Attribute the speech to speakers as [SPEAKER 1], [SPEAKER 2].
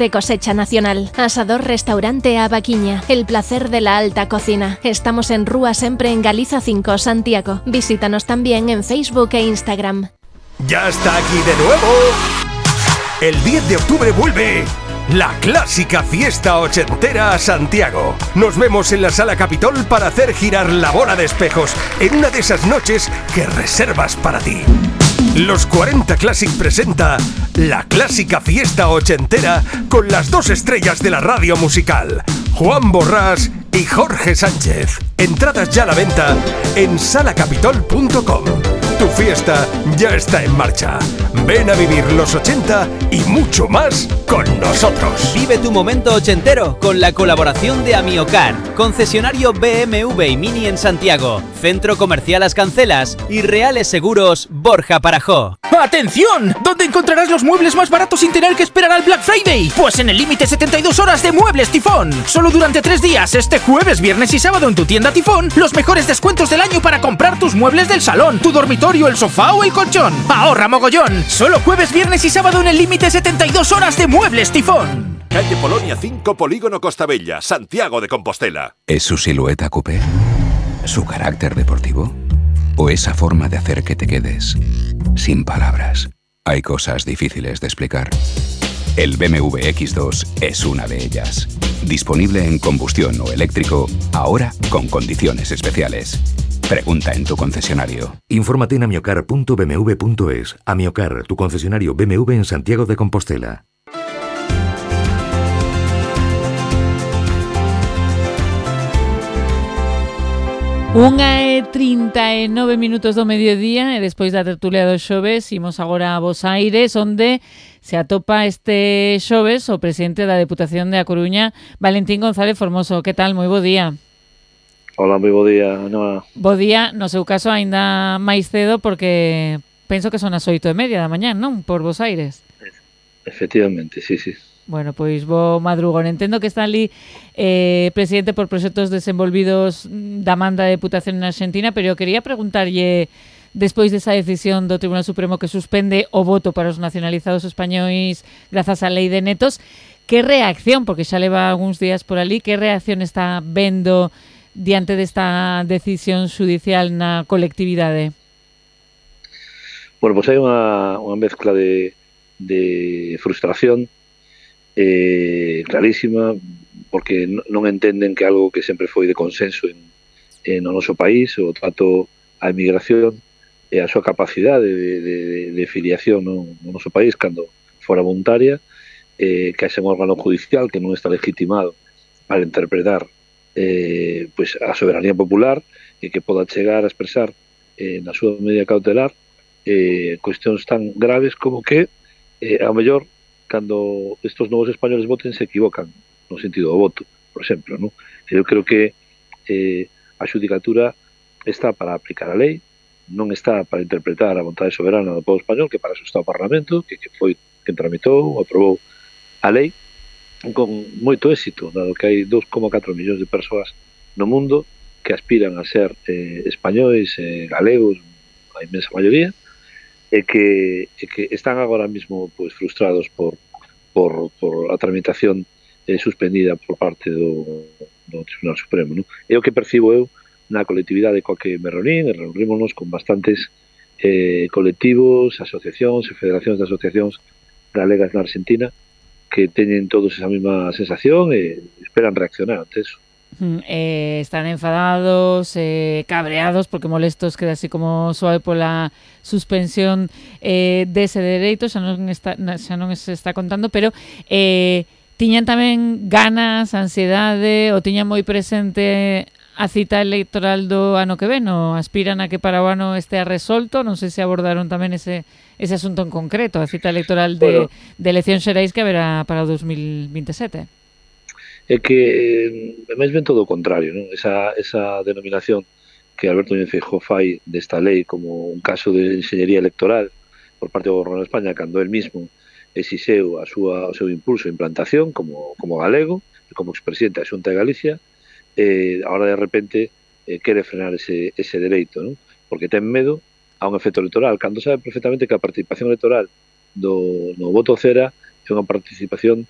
[SPEAKER 1] de cosecha nacional. Asador Restaurante A Vaquiña, el placer de la alta cocina. Estamos en Rúa Sempre en Galiza 5, Santiago. Visítanos también en Facebook e Instagram.
[SPEAKER 2] ¡Ya está aquí de nuevo! El 10 de octubre vuelve la clásica fiesta ochentera a Santiago. Nos vemos en la Sala Capitol para hacer girar la bola de espejos en una de esas noches que reservas para ti. Los 40 Classic presenta la clásica fiesta ochentera con las dos estrellas de la radio musical, Juan Borrás y Jorge Sánchez. Entradas ya a la venta en salacapitol.com. Tu fiesta ya está en marcha. Ven a vivir los 80 y mucho más con nosotros.
[SPEAKER 3] Vive tu momento ochentero con la colaboración de Amiocar, concesionario BMW y Mini en Santiago, Centro Comercial Las Cancelas y Reales Seguros Borja Parajó.
[SPEAKER 4] ¡Atención! ¿Dónde encontrarás los muebles más baratos sin tener que esperar al Black Friday? Pues en el límite 72 horas de Muebles Tifón. Solo durante 3 días, este jueves, viernes y sábado en tu tienda Tifón, los mejores descuentos del año para comprar tus muebles del salón, tu dormitorio, el sofá o el colchón. ¡Ahorra mogollón! Solo jueves, viernes y sábado en el límite 72 horas de Muebles Tifón.
[SPEAKER 5] Calle Polonia 5, Polígono Costa Bella, Santiago de Compostela.
[SPEAKER 6] ¿Es su silueta coupé? ¿Su carácter deportivo? ¿O esa forma de hacer que te quedes sin palabras? Hay cosas difíciles de explicar. El BMW X2 es una de ellas. Disponible en combustión o eléctrico, ahora con condiciones especiales. Pregunta en tu concesionario.
[SPEAKER 7] Infórmate en amiocar.bmw.es. Amiocar, tu concesionario BMW en Santiago de Compostela.
[SPEAKER 8] Unha e 39 minutos do mediodía e despois da tertulia dos xoves imos agora a Bos Aires, onde se atopa este xoves o presidente da Deputación de A Coruña, Valentín González Formoso. Que tal? Moi bo día.
[SPEAKER 9] Hola, moi bo día, Noa.
[SPEAKER 8] Bo día, no seu caso aínda máis cedo porque penso que son as 8:30 da mañá, non? Por Bos Aires.
[SPEAKER 9] Efectivamente, sí.
[SPEAKER 8] Bueno, pois bo madrugón. Entendo que está ali presidente por proxectos desenvolvidos da man da Deputación en Argentina, pero eu quería preguntarlle, despois desa decisión do Tribunal Supremo que suspende o voto para os nacionalizados españois grazas á lei de netos, que reacción, porque xa leva algúns días por ali, que reacción está vendo diante desta decisión judicial na colectividade?
[SPEAKER 9] Bueno, pois hai unha mezcla de frustración clarísima, porque non entenden que algo que sempre foi de consenso no noso país, o trato á emigración e a súa capacidade de filiación no noso país cando fora voluntaria, que haxa un órgano judicial que non está legitimado para interpretar pois a soberanía popular e que poda chegar a expresar na súa medida cautelar cuestións tan graves como que ao mellor cando estos novos españoles voten se equivocan no sentido do voto, por exemplo, non? Eu creo que a xudicatura está para aplicar a lei, non está para interpretar a vontade soberana do povo español, que para eso está o Parlamento, que foi quen tramitou, aprovou a lei con moito éxito, dado que hai 2,4 millóns de persoas no mundo que aspiran a ser españois, galegos, a inmensa maioría, e que están agora mesmo pois frustrados por a tramitación suspendida por parte do Tribunal Supremo, non? É o que percibo eu na colectividade coa que me reunímonos con bastantes colectivos, asociacións e federacións de asociacións galegas na Argentina que teñen todos esa mesma sensación e esperan reaccionar ante eso.
[SPEAKER 8] Están enfadados, cabreados, porque molestos queda así como suave pola suspensión dese dereito, xa non se está contando, pero tiñan tamén ganas, ansiedade, o tiñan moi presente a cita electoral do ano que ven, o aspiran a que para o ano estea resolto. Non sei se abordaron tamén ese asunto en concreto, a cita electoral de eleccións xerais que haberá para o 2027.
[SPEAKER 9] É que máis ben todo o contrario, non? Esa denominación que Alberto Núñez Feijóo fai desta lei como un caso de enxeñería electoral por parte do Goberno de España, cando él mismo exixeu o seu impulso e implantación como galego e como expresidente da Xunta de Galicia, agora de repente quere frenar ese dereito, non? Porque ten medo a un efecto electoral, cando sabe perfectamente que a participación electoral no voto cera é unha participación